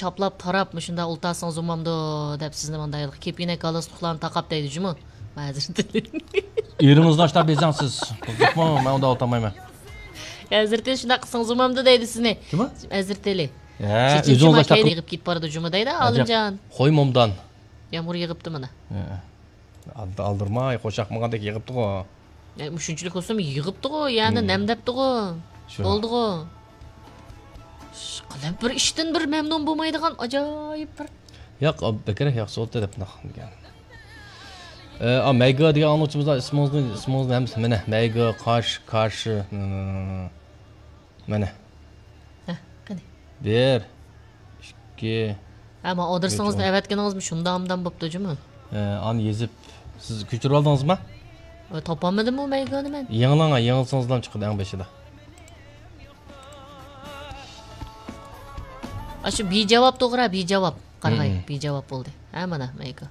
чаплап тарап ушундай ултасыңыз умамдуу деп сизди мындайлык кепине галстукларын такап дейди жуму. Азыр Ирыңызды аштап безаңсыз. Кызыкмы, мен онда отамайм. Азыртеле ушундай кылсаңыз умамдуу дейди сизни. Ким? Азыртеле. Өзүңүз аштап йыгып кетип барады жума дейди, Алымжан. Кой момдан. Ямур йыгыпты мына. Алдырмай, кошакмагандек йыгыпты го. Ушунчулук болсом йыгыпты го, яны немдепти го. Болду го. Кандай бир иштен бир мемнун болмайдыган ажайып бир. Жок, бекер жакшы болду деп деген. Мейга деген анучубузда исмиңизди эмес мене. Мейга каршы. Мене. Кане. 1 2 Ама одурсаңыз эбеткениңизби шунда амдан болупту жуму? Аны езип сиз күчүрүп алдыңызбы? Топамадымбы Мейганы мен? Еңилсаңыздан чыкты эң бешиде. Ашы би жавап тогура, би жавап. Каргай, би жавап болду. Мына Мейга.